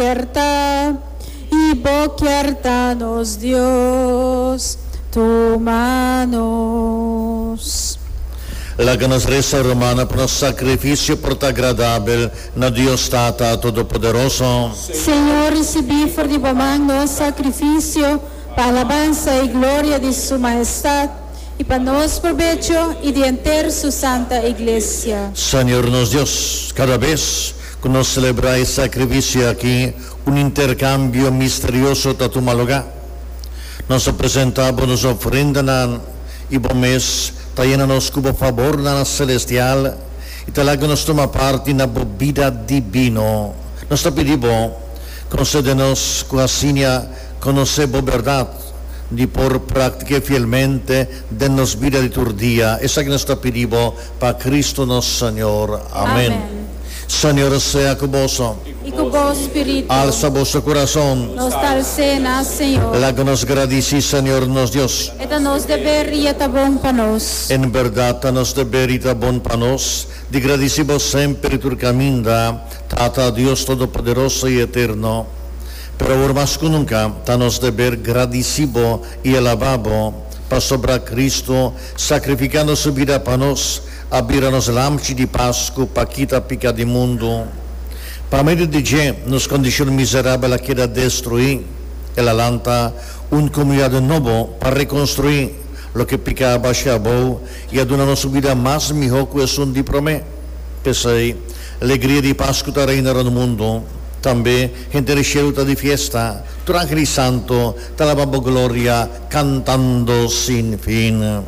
Kier ta i bo kier ta nos Dios, tuma nos. Laga nos resa, rumannan, pa nos sakrifisio por ta agradabel na Dios Tata Todopoderoso. Señor, risibí for di bo man nos sakrifisio pa alabansa i gloria di Su Mahestat i pa nos probecho i di henter Su Santa Iglesia. Señor nos Dios, kada bes Ku nos selebrá e sakrifisio aki, un interkambio misterioso ta tuma lugá. Nos ta presentá Bo nos ofrendanan, i Bo mes ta yena nos ku Bo fabornan selestial i ta laga nos tuma parti na Bo bida dibino. Nos ta pidi Bo, konsede nos ku asina konosé Bo bèrdat di por praktik'é fielmente den nos bida di tur dia. Esaki nos ta pidi Bo pa Cristo nos Señor. Amen. Señor sea cu boso. I cu bo spiritu. Alsa boso curason. Nos ta als'é na Señor. Laga nos gradici Señor nos Dios. E ta nos deber i e ta bon pa nos. En berdad ta nos deber i ta bon pa nos di gradici bo semper i tur caminda, Tata Dios Todopoderoso i Eterno. Pero awor mas cu nunca ta nos deber gradici bo i alaba bo, pasobra Cristo, Sakrifikando su bida pa nos, a bira nos Lamchi di Pasku pa kita piká di mundu. Pa medio di dje, nos kondishon miserabel a keda destruí. El a lanta un komunidat nobo pa rekonstruí loke piká a basha abou i a duna nos un bida mas mihó ku esun di promé. P'esei, alegria di Pasku ta reina rònt mundu. Tambe, henter e shelu ta di fiesta. Tur angel i santu ta laba bo gloria. Cantando sin fin.